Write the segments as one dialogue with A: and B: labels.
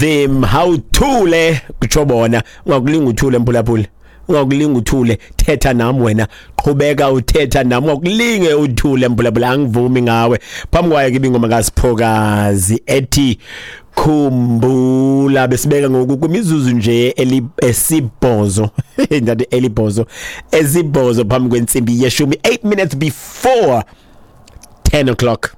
A: Them hawuthule kutsho bona. Ungakulinga uthule, mphulaphula, ungakulinga uthule. Thetha nam wena, qhubeka uthetha nam, ungakulinge uthule, mphulaphula, angivumi ngawe. Phambi kwayo ke ibingoma kaSiphokazi ethi Khumbula. Besibeka ngoku kwimizuzu nje esibhozo, ndathi elibhozo, esibhozo phambi kwentsimbi yeshumi, 8 minutes before 10 o'clock.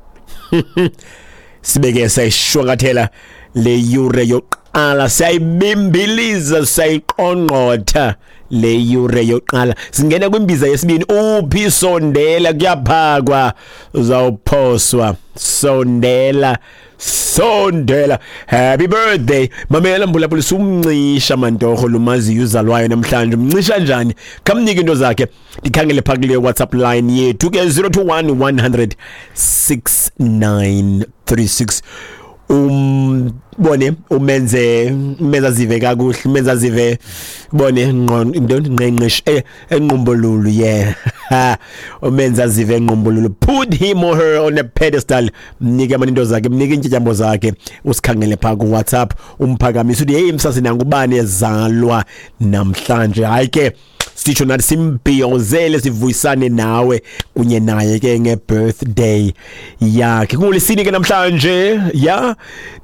A: Sibeke sayishwankathela le yure yoqala, siyayibimbiliza, sayiqongqotha le yure yoqala, singena kwimbiza yesibini. Uphi? Sondela, kuyaphakwa, uzawuphoswa. Sondela, sondela. Happy birthday. Mamela mbulabula, sumncisha mantorho lumaziyo uzalwayo namhlanje. Umncisha njani? Khamnike into zakhe. Ndikhangele phaa kule WhatsApp line yethu ke, 021 100 6936. Umbone, umenze, umenze azive kakuhle, umenze azive, bone into ngqengqesh enqumbolulu, yeah, umenze azive enqumbolulu. Put him or her on a pedestal. Mnike amanye into zakhe, mnike iintyatyambo zakhe. Usikhangele phaa kuWhatsApp, umphakamise, uthi, "Hey msasi, nangubani ezalwa namhlanje?" Hayi ke, sitsho nathi simbhiyozele, sivuyisane nawe kunye naye ke nge-birthday yakhe. Kungolesini ke namhlanje, ya,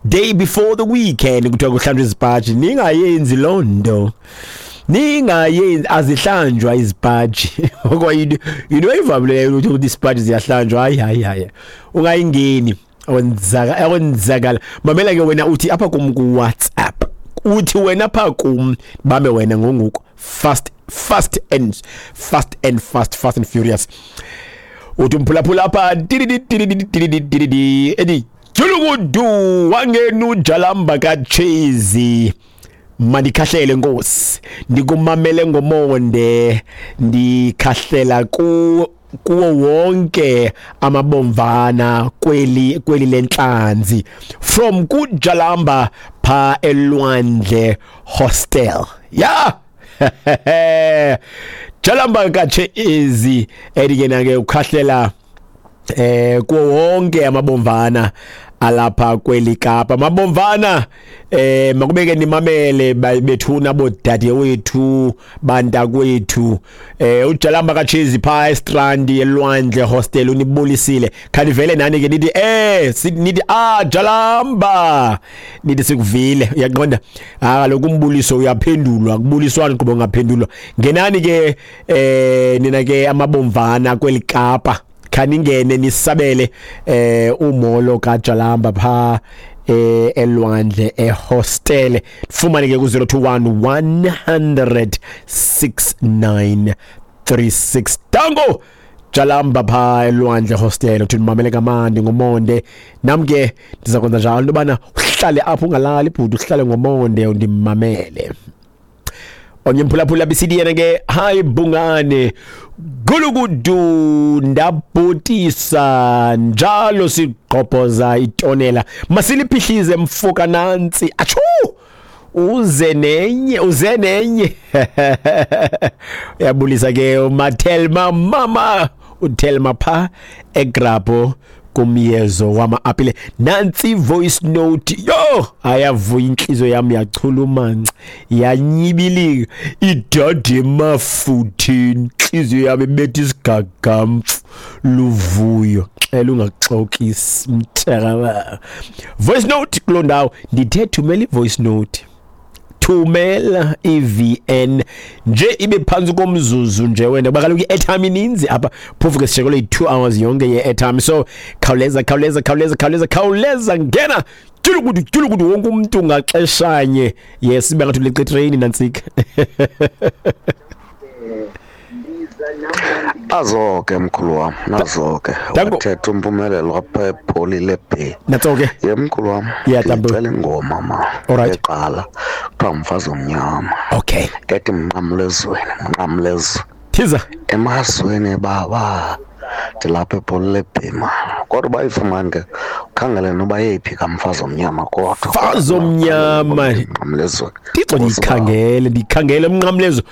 A: day before the weekend. Kuthiwa kuhlanjwa izipaji. Ningayenzi loo nto, ningayenzi, azihlanjwa izipaji. Okwayinto into eyivamileyo ukuthi isipaji ziyahlanjwa. Hayi, hayi, hayi, ungayingeni, akwenzakala. Mamela ke wena, uthi apha kum ku-WhatsApp, uthi wena pha kum, bambe wena ngonguku, fast, fast and fast and fast, fast and furious. Uthi umphulaphula apha ethi julukudu wangena uJalamba kaChezi, mandikhahlele nkosi, ndikumamele ngomonde, ndikhahlela ku kuwo wonke amabomvana kweli lentlanzi, from kuJalamba pha eLwandle Hostel. Ya, Jalamba kaChezi, ethi ke na ke ukhahlela kuwo wonke amabomvana alapha kweli Kapa. Mabomvana, makubeke nimamele bethuna, bodade wethu, bantakwethu. UJalamba kaChezi pha eStrand eLwandle Hostel unibulisile. Khanivele nani ke, nithi nithi, "Ah, Jalamba," nithi sikuvile. Uyaqonda? Ah, kaloku umbuliso uyaphendulwa, kubuliswana qobo ngaphendulwa. Ngenani ke nina ke amabomvana kweli Kapa, khaningene nisabele umolo kaJalamba pha eLwandle ehostel. Fumane ke ku 021 100 6936. Tango Jalamba pha eLwandle Hostel, uthi mamele kamandi ngomonde. Nam ke ndiza kwenza njalo, into yobana uhlale apho, ungalali bhuti, uhlale ngomonde undimamele. Omnye mphulaphula bisithi yena ke, "Hayi bungane, gulukudu, ndabhotisa njalo, sigqobhoza itonela, masiliphihlize mfoka nantsi." Atshu, uze nenye, uze nenye. Uyabulisa ke uMathelma, mama uThelma pha eGrabho kumyezo wama-apile. Nantsi voice note yo, ayavuya inhliziyo yami, yachulumanca, yanyibilika, idade emafuthini. Inhliziyo yami ibetha isigagamfu luvuyo. Xela ungaxokisi mntakababa. Voice note kuloo ndawo, ndithe thumela i-voice note, thumela i-VN nje ibe phantsi komzuzu nje wena, kuba kaloku i-airtime ininzi apha. Phofu ke sishekelwe yi-2 hours yonke ye-airtime, so khawuleza, khawuleza, khawuleza, khawuleza, khawuleza, ngena tyulukudu tyulukudu, wonke umntu ngaxeshanye. Yes, ibe ngathi uleqa itreyini nantsika.
B: Azo ke mkhulu wam, nazo ke.
A: Danko.
B: Wathetha uMpumelelo apha ePholile Bay.
A: Natso ke.
B: Ye mkhulu wam.
A: Yeah, Tambo.
B: Ndicela ingoma ma.
A: Alright.
B: Eqala kuthiwa Mfazi Omnyama. Ethi mnqamlezweni, mnqamlezo.
A: Thiza.
B: Emazweni baba, ndilapha ePholile Bay ma. Kodwa bayifumane ke, ukhangele noba yeyiphi kaMfazi Omnyama kodwa.
A: Mfazi Omnyama.
B: Mnqamlezweni.
A: Thixo, ndiyikhangele, ndiyikhangele umnqamlezo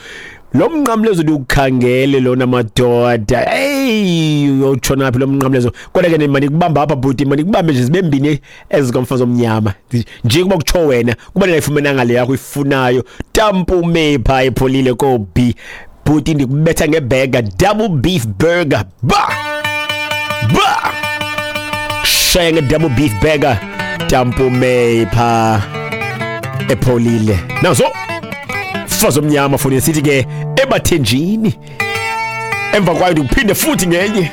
A: lo, mnqamlezo ndiwukhangele lona madoda. Hey. Hey, uyotshona phi lo mnqamlezo? Kodwa ke manikubamba apha bhuti, manikubambe nje zibe mbini ezikamfazi omnyama. Nje kuba kutsho wena, kuba ndingayifumenanga le yakho ifunayo. Tampume pha epholile ko B. Bhuti ndikubetha ngeburger, double beef burger. Ba! Ba! Shaya nge-double beef burger. Tampume pha epholile. Naso mfazi omnyama funi sithi ke ebathenjini. Emva kwayo ndikuphinde futhi ngenye.